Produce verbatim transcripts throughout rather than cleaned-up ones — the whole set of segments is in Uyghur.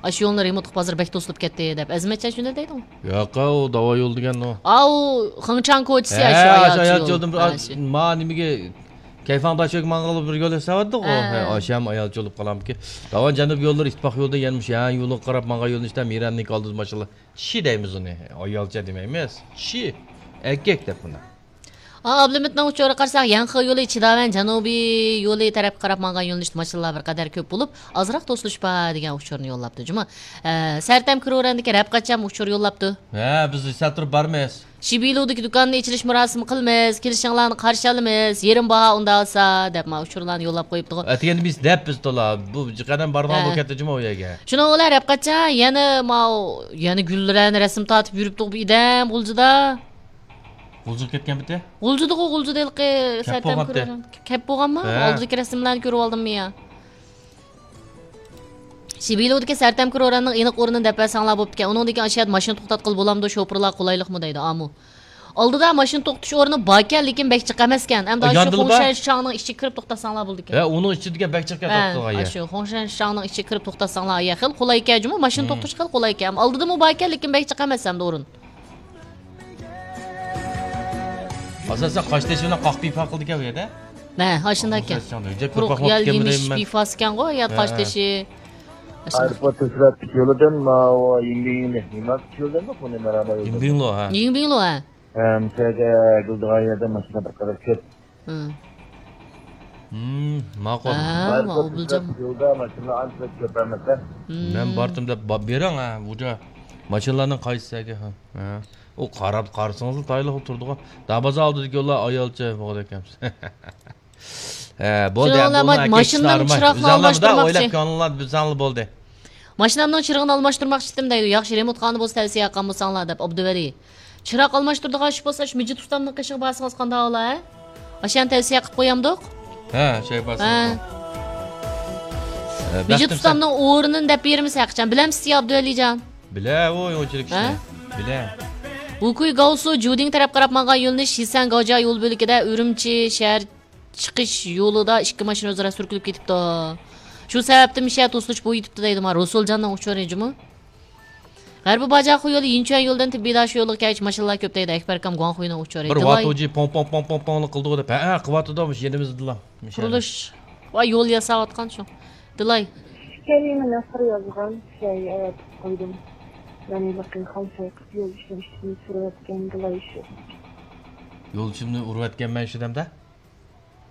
ئاشۇ يولنى رېمونت قىلىپ ھازىر بەك توسۇلۇپ كەتتى دەپ. ئەزىمەتجان شۇنداق دەيدىغۇ. ياق، ئۇ داۋا يول دېگەن ئۇ. ئاۋۇ خېڭچاڭ كوچىسى ھە، ئاشۇ ئاشۇ ئايال يول. يولدىن بىر ھە، ئاز-، شۇ. ما نېمىگە، كەيفاڭ داشۆگە ماڭغىلى بىر يول ياساۋاتىدىغۇ. ھە. ھە، ئاشۇ ھەم ئايالچە بولۇپ قالامكى. داۋا جەنۇب يوللىرى ئىتتىپاق يولدا يەنە مۇشۇ ھە يولغا قاراپ ماڭغان يۆنىلىشتە مىرەننىڭكى ئالدىدا ماشىنىلار. چىشى دەيمىز ئۇنى. ئايالچە دېمەيمىز. چىشى. ئەركەك دەپ بۇنى. ئا، ئابلىمىتنىڭ ئۇچۇرىغا قارىساق، يەنخې يولى، چىداۋەن جەنۇبىي يولى تەرەپكە قاراپ ماڭغان يۆنىلىشتە ماشىنىلار بىر قەدەر كۆپ بولۇپ، ئازراق توسۇلۇش بار دېگەن ئۇچۇرنى يوللاپتۇ جۇمۇ. ئە، سەرتەم كرورەندىكى رەپقەچەم ئۇچۇر يوللاپتۇ. ھە، بىز سەل تۇرۇپ بارىمىز. شىبىلۇدىكى دۇكاننى ئېچىلىش مۇراسىمى قىلىمىز، كېلىشىڭلارنى قارشى ئالىمىز، يېرىم باھا ئۇنداق بولسا، دەپ ما ئۇچۇرلارنى يوللاپ قويۇپتىغۇ. ئەتىگەندە بىز دەپ بىز تولا، بۇ قەدەم بارغان ھە. بولۇپ كەتتى جۇمۇ ئۇ يەرگە. شۇنىڭ بىلەن رەپقەچە يەنە ماۋۇ، يەنە گۈللەرنى رەسىم تارتىپ يۈرۈپتۇق بۇ ئىدەم غۇلجىدا. غۇلجىغا كەتكەن پېتى؟ غۇلجىدىغۇ، غۇلجىدا ھېلىقى كەپ سەرتەم بولغانتى. كۆرۈۋالدىم. كەپ بولغانما؟ ھە. ئالدىدىكى رەسىملەرنى كۆرۈۋالدىممۇ يا؟ شىبىلۇدىكى سەرتەم كرورەننىڭ ئېنىق ئورنىنى دەپ بەرسەڭلار بوپتىكەن. ئۇنىڭدىن كېيىن ئاشۇ يەردە ماشىنا توختاتقىلى بولامدۇ؟ شوپۇرلار قولايلىقمۇ دەيدۇ. ئامۇ. ئالدىدا ماشىنا توختىتىش ئورنى باركەن، لېكىن بەك جىق ئەمەسكەن. ئەمدى ئاشۇ ياندىلا بار؟ خۇڭشەن شاڭنىڭ ئىچىگە كىرىپ توختاتساڭلار بولىدىكەن. ھە، ئۇنىڭ ئىچىدىكى بەك جىق ھە، توختىغان يەر. ئاشۇ خۇڭشەن شاڭنىڭ ئىچىگە كىرىپ توختاتساڭلار، يا خېلى قولايكەن جۇمۇ، ماشىنا توختىتىش خېلى قولايكەن. ئالدىدىمۇ باركەن، لېكىن بەك جىق ئەمەس ئەمدى ئورۇن. ئاساسەن قاشتېشى بىلەن قاق پىپا قىلىدىكەن بۇ يەردە. ھە، ئاشۇنداق ئىكەن. قۇرۇق يەل يېمىش پىپاسىكەنغۇ، يا قاشتېشى. ئايروپورت تۆسىرەتتىكى يولىدىن ماۋۇ يىڭبىڭلى، يىڭبىڭلى يولىدىنمۇ بۇنى مەرھەمە يولىدىن. يىڭبىڭلو، ھە. يىڭبىڭلو، ھە. ھە، مۇشۇ يەردە گۈلدىغان يەردە ماشىنا بىر قەدەر كۆپ. ھە. ھىم، ماقۇل. ھە، ماقۇل. يولدا ماشىنا ئانچە كۆپ ئەمەس. ھىم. مەن باردىم دەپ با-، بېرىڭ، ھە، بۇ جا ماشىنىلارنىڭ قايسىسى ھە، ھە. ئۇ قاراپ قارىسىڭىزلا تايىنلىق تۇرىدىغۇ. دابازا ئالدىدىكى يوللار ئايالچە بولغۇدەك ئەمەس. ھە، بولدى، شۇنىڭ ئەمدى بىلەن ئۇنىڭ ماشىنىنىڭ چىراغىنى ئالماشتۇرماقچى. ئويلاپ كۆڭلۈڭلار بىزەڭلا بولدى. ماشىنامنىڭ چىرىغىنى ئالماشتۇرماقچىدىم دەيدۇ. ياخشى، رېمونت قىلغان بولسا تەۋسىيە قىلغان بولساڭلار دەپ، ئابدۇۋەلى. چىراغ ئالماشتۇرىدىغان ئىش بولسا، شۇ مىجىت ئۇستامنىڭ قېشىغا بارسىڭىز قانداق بولا، ھە؟ ئاشۇ يەرنى تەۋسىيە قىلىپ قويامدۇق؟ ھە، شەي بارسىڭىز. ھە. مىجىت ئۇستامنىڭ ئورنىنى دەپ بېرىمىز ھەقىچان. بىلەمسىز يا، ئابدۇۋەلىجان؟ بىلە، ئۇ ئۇنچىلىك ئىشنى. ھە؟ بىلە. ۋۇكۇي گاۋسۇ جۇدىڭ تەرەپ قاراپ ماڭغان يۆنىلىش شىسەن گاۋجيا يول بۆلىكىدە ئۈرۈمچى شەھەر چىقىش يولىدا ئىككى ماشىنا ئۆزئارا سۈركىلىپ كېتىپتۇ. شۇ سەۋەبتىن مىشە توسۇلۇش بويىتىپتۇ دەيدۇ، ما رۇسۇلجاننىڭ ئۇچۇرى جۇمۇ. غەربىي باجاخۇ يولى يىنچۈەن يولىدىن تىببىي داشۇ يولىغا كەلگۈچە ماشىنىلار كۆپ دەيدۇ، ئەكبەركام گۇاڭخۇينىڭ ئۇچۇرى. بىر دىلاي. ۋاتۇجى پوڭ، پوڭ، پوڭ، پوڭ، پوڭلا قىلدىغۇ دەپ. ھە، ھە، قىلىۋاتىدۇ، مۇشۇ يېنىمىزدىلا. مۇشۇ يەردە. قۇرۇلۇش. ۋاي، يول ياساۋاتقان شۇ. دىلاي. كەلىمىنى قىر يازغان، شەي ئەۋەتىپ قويدۇم. يەنى بېقىڭ، خام شەي قىپ يول ئىشلىشىنى سۈرۈۋەتكەن دىلاي شۇ. يولدىشىمنى ئۇرۇۋەتكەنمەن شۇ دەمدە.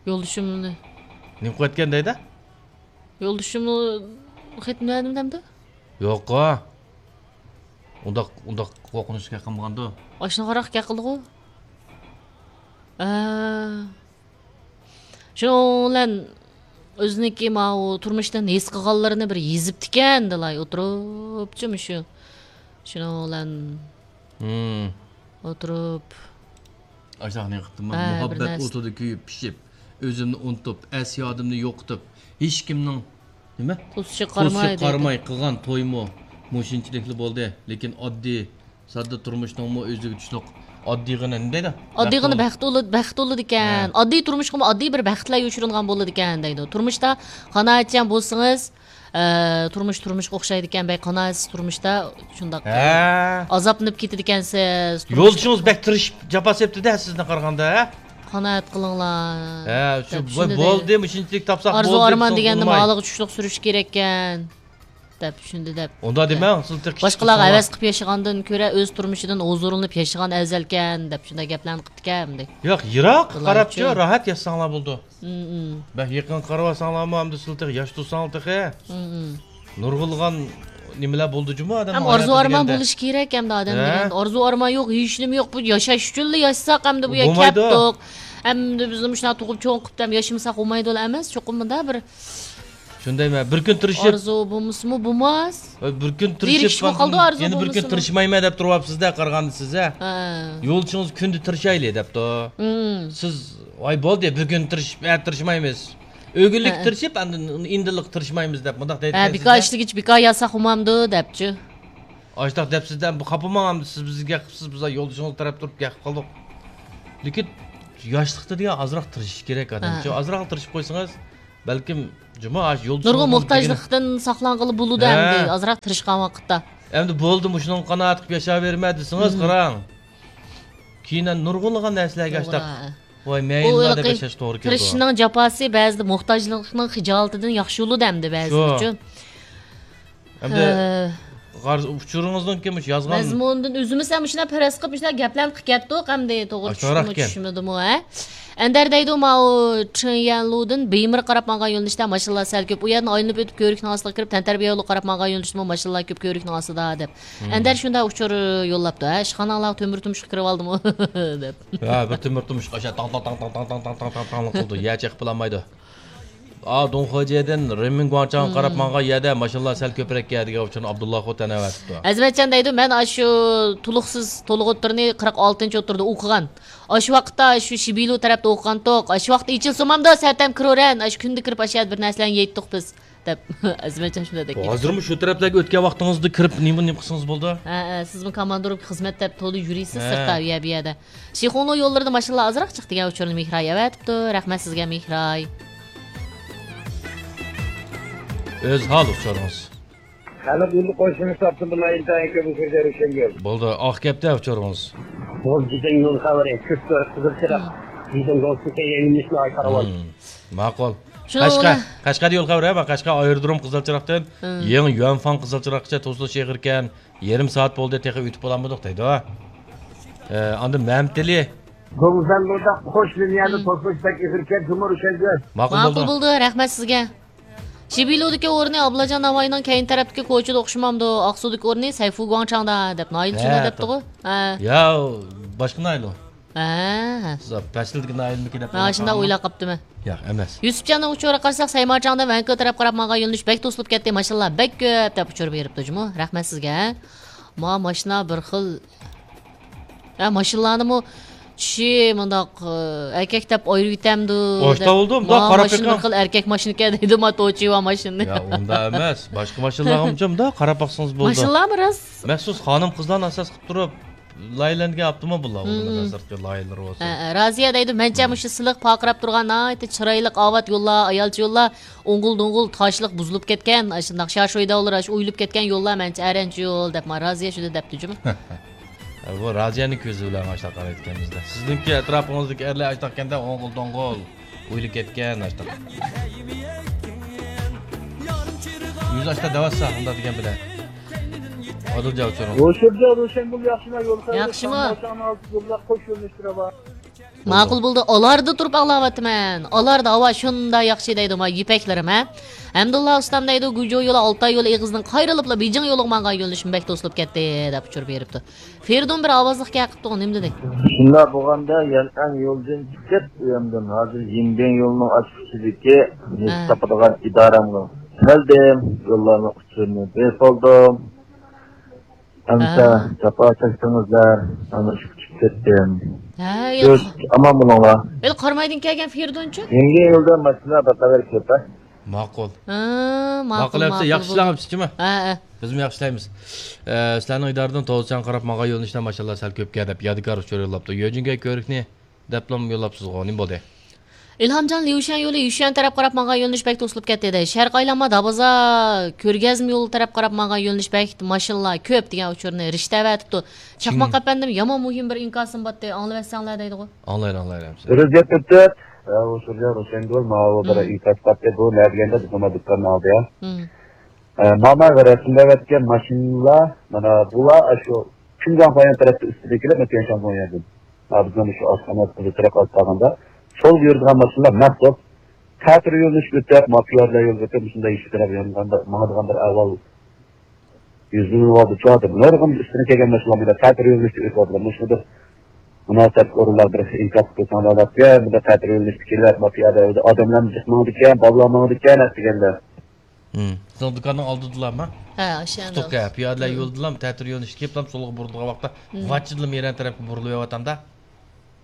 يولدىشىمنى. نېمە قىلىۋەتكەن دەيدۇ؟ يولدىشىمنى خېتىنى بەردىم دەمدۇ؟ يوققۇ. ئۇنداق، ئۇنداق قورقۇنچلۇق گەپ قىلمىغاندۇ؟ ئاشۇنى قاراق گەپ قىلدىغۇ. ئە. شۇنىڭ بىلەن ئۆزىنىڭكى ماۋۇ تۇرمۇشتىن ھېس قىلغانلىرىنى بىر يېزىپتىكەن، دىلاي ئولتۇرۇپچۇ مۇشۇ. شۇنىڭ بىلەن ھىم. ئولتۇرۇپ. ئاشۇنداق نېمە قىپتىمەن؟ ھە، بىر مۇھەببەت نەرسە. ئوتىدا كۆيۈپ پىشىپ، ئۆزۈمنى ئۇنتۇپ، ئەس-يادىمنى يوقىتىپ، ھېچكىمنىڭ نېمە؟ توسۇشىغا قارىماي، توسۇشىغا قارىماي قىلغان تويمۇ مۇشۇنچىلىكلا بولدى. لېكىن ئاددىي، ساددا تۇرمۇشنىڭمۇ ئۆزىگە چۈشلۈك ئاددىيغىنا نېمە دەيدۇ؟ ئاددىيغىنا بەخت بولىدۇ، بەخت بولىدىكەن. ھە. ئاددىي تۇرمۇشقىمۇ ئاددىي بىر بەختلەر يوشۇرۇنغان بولىدىكەن دەيدۇ. تۇرمۇشتا قانائەتچان بولسىڭىز، ئە، تۇرمۇش تۇرمۇشقا ئوخشايدىكەن، بەك قانائەتسىز تۇرمۇشتا شۇنداق، ھە. ئازابلىنىپ كېتىدىكەنسىز. يولدىشىڭىز بەك تىرىشىپ جاپا چەكتى-دە سىزنى قارىغاندا، ھە؟ قانائەت قىلىڭلار. ھە، شۇ دەپ چۈشىنىدۇ. بولدى، مۇشۇنچىلىك تاپساق بولدى، ئارزۇ ئارمان دېگەندە مالىغا چۈشلۈك سۈرۈش كېرەككەن، دەپ چۈشىنىدۇ دەپ. ئۇنداق دېمەڭ، سىز تېخى باشقىلارغا ھەۋەس قىلىپ ياشىغاندىن كۆرە ئۆز تۇرمۇشىدىن ھۇزۇرلىنىپ ياشىغان ئەۋزەلكەن، دەپ شۇنداق گەپلەرنى قىپتىكەن. ياق، يىراق قاراپچۇ، راھەت ياشىساڭلار بولىدۇ. مم. بەك يېقىنغا قارىۋالساڭلارمۇ، ئەمدى سىلەر تېخى ياش تۇرساڭلار تېخى. مم. نۇرغۇنلىغان نېمىلەر بولىدۇ جۇمۇ ئادەمنىڭ ھاياتىدا دېگەندە. ئارزۇ ئارمان بولۇشى كېرەك ئەمدى ئادەم دېگەندە. ئارزۇ ئارمان يوق، ھېچنېمە يوق. بۇ ياشاش ئۈچۈنلا ياشىساق ئەمدى بۇ يەرگە كەپتۇق. ئەمدى بىزنى مۇشۇنداق تۇغۇپ چوڭ قىلىپ دەم ياشىمىساق بولمايدۇ ئەمەس، چوقۇم مۇنداق بىر شۇندايمۇ؟ بىر كۈن تىرىشىپ. ئارزۇ بولمىسىمۇ بولماس. بىر كۈن تىرىشىپ، يەنە بىر كۈن تىرىشمايمەن دەپ تۇرۇۋاپسىز-دە، قارىغاندا سىز، ھە؟ ھە. يولدىشىڭىز كۈندە تىرىشايلى دەپتۇ. مم. سىز، ۋاي، بولدى، بىر كۈن تىرىشىپ، ئە، تىرىشمايمىز. ئۆگۈنلۈك تىرىشىپ، ئاندىن ئىندىنلىق تىرىشمايمىز دەپ مۇنداق دەيدىكەن. ھە، بىكار ئىشلىگىچە بىكار ياتساق بولمامدۇ دەپچۇ. ئاشۇنداق دەپ سىز دە خاپا بولماڭ، ئەمدى سىز بىزگە گەپ قىپسىز، بىز يولدىشىڭىز تەرەپ تۇرۇپ گەپ قىلدۇق. لېكىن ياشلىقتا دېگەن ئازراق تىرىشىش كېرەك ئادەمچۇ. ھە. ئازراق تىرىشىپ قويسىڭىز، بەلكىم جۇمۇ ئاشۇ يول نۇرغۇن موھتاجلىقتىن ساقلانغىلى بولىدۇ ئەمدى، ئازراق تىرىشقان ۋاقىتتا. ئەمدى بولدى، مۇشۇنىڭغا قانائەت قىلىپ ياشاۋېرىمەن دېسىڭىز، قاراڭ. كېيىن نۇرغۇنلىغان نەرسىلەرگە ئاشتاق، ۋاي مەيىنلار دەپ ياشاش توغرا كېلىدۇ. تىرىشىشنىڭ جاپاسى بەزىدە موھتاجلىقنىڭ خىجالىتىدىن ياخشى بولىدۇ ئەمدى بەزى ئۈچۈن. ئەمدى غار-، ئۇچۇرىڭىزنىڭكى مۇشۇ يازغان مەزمۇنىدىن ئۆزىمىز ھەم مۇشۇنداق پەرەز قىلىپ، مۇشۇنداق گەپلەرنى قىلىپ كەتتۇق ئەمدى، توغرا چۈشتىمۇ، چۈشمىدىمۇ، ھە؟ ئەندەر دەيدۇ، ماۋۇ چېن يەنلۇدىن بېيمىرغا قاراپ ماڭغان يۆنىلىشتە ماشىنىلار سەل كۆپ. ئۇ يەردىن ئايلىنىپ ئۆتۈپ، كۆۋرۈكنىڭ ئاستىغا كىرىپ، تەنتەربىيە يولىغا قاراپ ماڭغان يۆنىلىشتىمۇ ماشىنىلار كۆپ كۆۋرۈكنىڭ ئاستىدا، دەپ. ئەندەر شۇنداق ئۇچۇر يوللاپتۇ، ھە، ئىشخاناڭلارغا تۆمۈر تۇمشۇق كىرىۋالدىمۇ؟ دەپ. ھە، بىر تۆمۈر تۇمشۇق ئاشۇ تاڭ، تاڭ، تاڭ قىلىدۇ، يەر چېقىپ بولالمايدۇ. ئا، دۇڭخېجيەدىن رېنمىن گۇاڭچاڭغا قاراپ ماڭغان يەردە ماشىنىلار سەل كۆپرەك دېگەن ئۇچۇرنى ئابدۇللا خوتەن ئەۋەتىپتۇ. ئەزىمەتجان دەيدۇ، مەن ئاشۇ تولۇقسىز، تولۇق ئوتتۇرىنى قىرىق ئالتىنچى ئوتتۇرىدا ئوقۇغان. ئاشۇ ۋاقىتتا شۇ شىبىلۇ تەرەپتە ئوقۇغانتۇق. ئاشۇ ۋاقىتتا ئېچىلسىمامدۇ، سەتەم كىرىۋېرەن. ئاشۇ كۈندە كىرىپ ئاشۇ يەردە بىر نەرسىلەرنى يەيتتۇق بىز، دەپ ئەزىمەتجان شۇنداق دەپ كەتتى. ھازىرمۇ شۇ تەرەپلەرگە ئۆتكەن ۋاقتىڭىزدا كىرىپ نېمە، نېمە قىلسىڭىز بولىدۇ. ھە، ھە، سىزمۇ كاماندىروپكا خىزمەت دەپ تولا يۈرىسىز سىرتتا، ئۇ يەر، بۇ يەردە. شىخۇڭلۇ يوللىرىدا ماشىنىلار ئازراق چىقتى دېگەن ئۇچۇرنى مېھراي ئەۋەتىپتۇ. رەھمەت سىزگە، مېھراي. ئۆزھال ئۇچۇرىڭىز. خەلق يولى قوشۇنى ساپتىن بىلەن ئىنتايىن كۆپ ئۇچۇر بېرىشكەن گەپ. بولدى، ئاق گەپتە ئۇچۇرىڭىز. بولدى، بىزنىڭ يول خەۋىرى، كۈچ قىزىل چىراغ. بىزنىڭ دوستلۇق يېڭىلىشنى ئايتارۋال. ماقۇل. قەشقەر، قەشقەردە يول خەۋىرى، ھە، قەشقەر ئايرودروم قىزىل چىراغدىن يېڭى يۈەنفاڭ قىزىل چىراغقىچە توسۇلۇش ئېغىركەن. يېرىم سائەت بولدى، تېخى ئۆتۈپ بولالمىدۇق دەيدۇ. ئە، ئاندىن مەمتىلى. گۇڭزەنلۇدا قوش لىنىيەدە توسۇلۇش بەك ئېغىركەن، جۇمۇ روشەنگۈل. ماقۇل بولدى، رەھمەت سىزگە. شىبىلۇدىكى ئورنى ئابلاجان ناۋاينىڭ كەينى تەرەپتىكى كوچىدا ئوخشىمامدۇ؟ ئاقسۇدىكى ئورنى سەيفۇ گۇاڭچاڭدا دەپ ناھىيىلى شۇنداق دەپتىغۇ. ھە. يا، باشقا ناھىيىلى ئۇ. ھە. پەسىلدىكى ناھىيىلىمىكى دەپ. ھە، شۇنداق ئويلاپ قاپتىمەن. ياق ئەمەس. يۈسۈپجاننىڭ ئۇچۇرىغا قارىساق، سەيمارچاڭدىن ۋەنكۇ تەرەپ قاراپ ماڭغان يۆنىلىش بەك توسۇلۇپ كەتتى، ماشىنىلار بەك كۆپ دەپ ئۇچۇر بېرىپتۇ جۇمۇ. رەھمەت سىزگە. ھە. ما ماشىنىلارنىمۇ چىشى مۇنداق، ئەركەك دەپ ئايرىۋېتەمدۇ؟ ئاشتا بولدۇم، مۇنداق قاراپ بېقىڭ. بىر خىل ئەركەك ماشىنىكەن دەيدۇ، ما توچىۋا ماشىنىنى. يا، ئۇنداق ئەمەس. باشقا ماشىنىلارغىمۇ مۇنداق قاراپ باقسىڭىز بولىدۇ. ماشىنىلارمۇ راست. مەخسۇس خانىم-قىزلارنى ئاساس قىلىپ تۇرۇپ لايىھەلەنگەن ئاپتوموبىللار، ئۇلارنىڭ سىرتقى لايىھەلىرى بولسا. ھە، ھە، رازىيە دەيدۇ، مەنچە مۇشۇ سىلىق پارقىراپ تۇرغان ناھايىتى چىرايلىق ئاۋات يوللار، ئايالچە يوللار، ئوڭغۇل-دوڭغۇل تاشلىق بۇزۇلۇپ كەتكەن، ئاشۇنداق شاشويداۋلار، ئاشۇ ئويۇلۇپ كەتكەن يوللار مەنچە ئەرەنچە يول دەپ، ما رازىيە شۇنداق دەپتۇ جۇمۇ. بۇ رازىيەنىڭ كۆزى بىلەن ئاشۇنداق قارايدىكەن بىزدە. سىزنىڭكى ئەتراپىڭىزدىكى ئەرلەر ئاشۇنداقكەندە، ئوڭغۇل-دوڭغۇل ئويۇلۇپ كەتكەن ئاشۇنداق. يۈز ئاشتا دەۋاتسا ئۇنداق دېگەن بىلەن. ئادىلجان ئۇچۇرۇڭ. روشەنجان، روشەنگۈل ياخشىما؟ يول خەۋىرى. ياخشىما؟ قوش يۆنىلىشتە بار. ماقۇل بولدى. ئالاردا تۇرۇپ ئاڭلاۋاتىمەن. ئالاردا ھاۋا شۇنداق ياخشى دەيدۇ، ما يىپەكلىرىم، ھە. ھەمدۇللا ئۇستام دەيدۇ، گۇجۇ يولى، ئالتاي يولى ئېغىزىدىن قايرىلىپلا بېيجىڭ يولىغا ماڭغان يۆنىلىشىم بەك توسۇلۇپ كەتتى، دەپ ئۇچۇر بېرىپتۇ. فېرىدۇن بىر ئاۋازلىق گەپ قىپتۇغۇ، نېمە دېدى؟ شۇنداق بولغاندا يەنئەن يولىدىن چىقىپ، ئۇياندىن ھازىر يىنبىڭ يولىنىڭ ئاچقۇچىدىكى نېفىت تاپىدىغان ئىدارەمگە كەلدىم. يوللارنىڭ ئۇچۇرىنى بېرىپ بولدۇم. ئەمسە جاپا چەكتىڭىزلەر، مانا شۇ كۈتۈپ كەتتىم. ھە، ياق. ئامان بولۇڭلار. ھېلى قارامايدىن كەلگەن فېرىدۇنچۇ؟ يەنگى يولدا ماشىنا بىر قەدەر كۆپ، ھە؟ ماقۇل. ھە، ماقۇل، ماقۇل ئەمسە، ماقۇل ياخشى بولدى. ئىشلەڭ ئەمسە، جۇمۇ؟ ھە، ھە. بىزمۇ ياخشى ئىشلەيمىز. ئە، سىلەرنىڭ ئىدارىدىن توزچان قاراپ ماڭغان يۆنىلىشتە ماشىنىلار سەل كۆپكەن دەپ يادىكار ئۇچۇر يوللاپتۇ. يۆجىنگەي كۆۋرۈكنى دەپلا يوللاپسىزغۇ، نېمە بولدى؟ ئىلھامجان، ليۇشۈەن يولى يۈشۈەن تەرەپ قاراپ ماڭغان يۆنىلىش بەك توسۇلۇپ كەتتى دەيدۇ. شەرقىي ئايلانما دابازا كۆرگەزمە يولى تەرەپ قاراپ ماڭغان يۆنىلىش بەك ماشىنىلار كۆپ دېگەن ئۇچۇرنى رىشتە ئەۋەتىپتۇ. چاقماق ئەپەندىم، يامان مۇھىم بىر ئىنكاسىم بارتتى، ئاڭلىۋەتسەڭلار دەيدىغۇ. ئاڭلايلى، ئاڭلايلى. بىر گەپ ئۆتۈپ، ئۇ سۈرجان روشەنگۈل ماۋۇ بىر ئىنكاس بارتتى، بۇ نە دېگەندە بىز نېمە دۇكاننىڭ ئالدى، ھە؟ ماما رەسىملەۋەتكەن ماشىنىلار، مانا بۇلار ئاشۇ شىنجاڭ پايان تەرەپتە ئۈستىدىكىلەر، مەسىلەن، شياڭگوڭيەدىن. ھازىر مانا شۇ ئاشخانا تەرەپ ئالىپ قالغاندا، سولغا يۈرىدىغان ماشىنىلار مەخسۇس تەتۈر يۆنىلىش ئۆتۈپ، ما پىيادىلەر يولىغا ئۆتۈپ، مۇشۇنداق يېشىل تەرەپ يانغاندا، ماڭىدىغان بىر ئەھۋال يۈز بەرگەن بولۇپ تۇرىدۇ. نۇرغۇن ئۈستىدىن كەلگەن ماشىنىلار بۇنداق تەتۈر يۆنىلىشتە ئۆتۈۋاتىدۇ. مۇشۇ بىر مۇناسىۋەتلىك ئورۇنلار بىر ئىنكاس قىلساڭلار دەپ، بۇنداق تەتۈر يۆنىلىشتە كېلىپ، ما پىيادە ئادەملەرمۇ جىق ماڭىدىكەن، بالىلار ماڭىدىكەن، دېگەندە. ھىم. سىزنىڭ دۇكاننىڭ ئالدىدىلامۇ؟ ھە، ئاشۇ يەردە. تۇتۇق، ھە، پىيادىلەر يولىدىلام، تەتۈر يۆنىلىشكە كېلىپلام، سولغا بۇرۇلىدىغان ۋاقىتتا ۋاچچىدىلا مىرەن تەرەپكە بۇرۇلۇۋېتىۋاتامدا،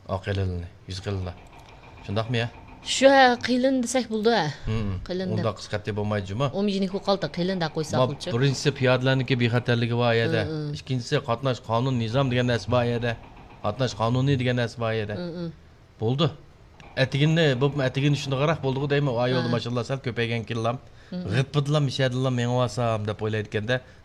ئا، قېلىننى، يۈز قېلىنلا. شۇنداقمۇ يا؟ شۇ، ھە، قېلىن دېسەك بولىدۇ، ھە. ھىم. قېلىن دەپ. ئۇنداق قىسقارتىپ بولمايدۇ جۇمۇ. ئومجىنىك بولۇپ قالدى، قېلىن دەپ قويساقچۇ. بىرىنچىسى پىيادىلەرنىڭكى بىخەتەرلىكى بار يەردە. ھىم، ھىم. ئىككىنچىسى قاتناش قانۇن نىزام دېگەن نەرسە بار يەردە. قاتناش قانۇنى دېگەن نەرسە بار يەردە. ھىم، ھىم. بولدى. ئەتىگىنى، بۇ ئەتىگىنى شۇنداقراق بولدىغۇ دەيمەن، ئا يولدا ماشىنىلار سەل كۆپەيگەنكىنلام. غىپپىدىلا مىشەدىلا مېڭىۋالسام دەپ ئويلايدىكەندە. بۇ